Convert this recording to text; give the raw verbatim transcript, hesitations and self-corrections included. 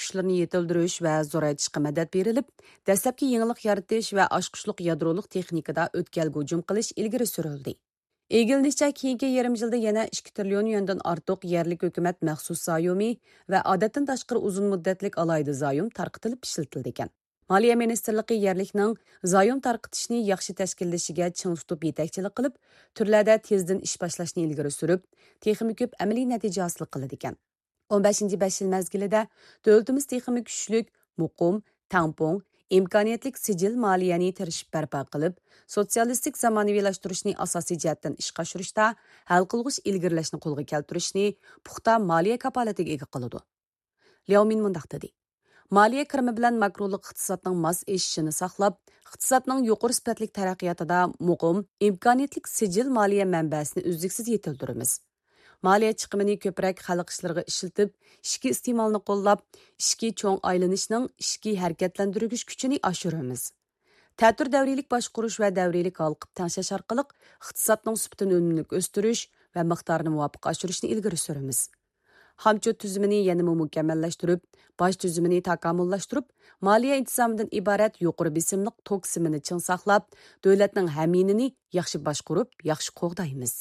ئاچقۇچلىرىنى يېتىلدۈرۈش ۋە زورايتىشقا مەدەت بېرىلىپ، دەسلەپكى يېڭىلىق يارىتىش ۋە ئاچقۇچلۇق يادرولۇق تېخنىكىدا ئۆتكەلگە ھۇجۇم قىلىش ئىلگىرى سۈرۈلدى. ئىگىلىنىشىچە، كېيىنكى يېرىم يىلدا يەنە ئىككى تىرىليون يۈەندىن ئارتۇق يەرلىك ھۆكۈمەت مەخسۇس زايومى ۋە ئادەتتىن تاشقىرى ئۇزۇن مۇددەتلىك ئالاھىدە زايوم تارقىتىلىپ ئىشلىتىلىدىكەن. مالىيە مىنىستىرلىقى يەرلىكنىڭ زايوم تارقىتىشنى ياخشى تەشكىللىشىگە چىڭ تۇتۇپ يېتەكچىلىك قىلىپ، تۈرلەردە تېزدىن ئىش باشلاشنى ئىلگىرى سۈرۈپ، تېخىمۇ كۆپ ئەمەلىي نەتىجە ھاسىل قىلىدىكەن. ئون بەشىنچى بەش يىل مەزگىلىدە دۆلىتىمىز تېخىمۇ كۈچلۈك، مۇقىم، تەڭپۇڭ، ئىمكانىيەتلىك سىجىل مالىيەنى تىرىشىپ بەرپا قىلىپ، سوتسىيالىستىك زامانىۋىلاشتۇرۇشنى ئاساسىي جەھەتتىن ئىشقا ئاشۇرۇشتا ھەل قىلغۇچ ئىلگىرىلەشنى قولغا كەلتۈرۈشنى پۇختا مالىيە كاپالىتىگە ئىگە قىلىدۇ. لياۋ مىن مۇنداق دېدى: مالىيە كىرىمى بىلەن ماكرولۇق ئىقتىسادنىڭ ماس ئېشىشىنى ساقلاپ، ئىقتىسادنىڭ يۇقىرى سۈپەتلىك تەرەققىياتىدا مۇقىم، ئىمكانىيەتلىك سىجىل مالىيە مەنبەسىنى ئۈزلۈكسىز يېتىلدۈرىمىز. مالىيە چىقىمىنى كۆپرەك خەلق ئىشلىرىغا ئىشلىتىپ، ئىچكى ئىستېمالنى قوللاپ، ئىچكى چوڭ ئايلىنىشنىڭ ئىچكى ھەرىكەتلەندۈرگۈچ كۈچىنى ئاشۇرىمىز. تەتۈر دەۋرىيلىك باشقۇرۇش ۋە دەۋرىيلىك ھالقىپ تەڭشەش ئارقىلىق ئىقتىسادنىڭ سۈپىتىنى ئۈنۈملۈك ئۆستۈرۈش ۋە مىقدارىنى مۇۋاپىق ئاشۇرۇشنى ئىلگىرى سۈرىمىز. خامچوت تۈزۈمىنى يەنىمۇ مۇكەممەللەشتۈرۈپ، باج تۈزۈمىنى تاكامۇللاشتۇرۇپ، مالىيە ئىنتىزامىدىن ئىبارەت يۇقىرى بېسىملىق توك سىمىنى چىڭ ساقلاپ، دۆلەتنىڭ ھەميىنىنى ياخشى باشقۇرۇپ، ياخشى قوغدايمىز.